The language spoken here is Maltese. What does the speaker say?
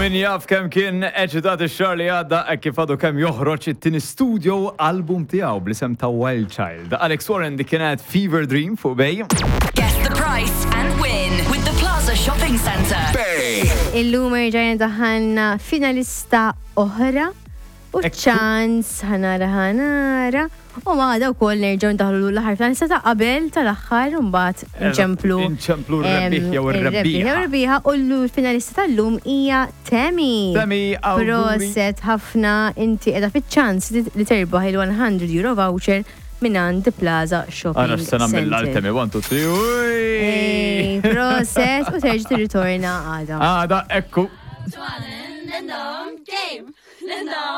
Min jaf kemm kien eċitat ix-xahar li għadda hekk kif għadu kemm joħroġ it-tieni studio album tiegħu bl-isem ta' Wild Child. Alex Warren dik kienet Fever Dream fuq Bay. Guess the price and win with the Plaza Shopping Centre. Bay. Illum erġajna daħalna finalista oħra u ċans ħanara ħanara u għada wkoll nerġgħu ndaħlu l-aħħar finalista ta' qabel tal-aħħar u mbagħad nċemplu. Inċemplu r-rebbieħ jew ir-rebbieħ ir-rebbieħa. jew ir-rebbieħa u l-finalista tal-lum hija Tammy. Tammy, awguri. Proset ħafna inti qiegħda fiċ-ċans li terbaħ il-100 euro voucher mingħand The Plaza Shopping Ara x'se nagħmel għal Centre. Tammy 1 2 3. Ej, Proset u terġa' tirritorna għada. Għada ekku. 좋아하는 랜덤 게임 랜덤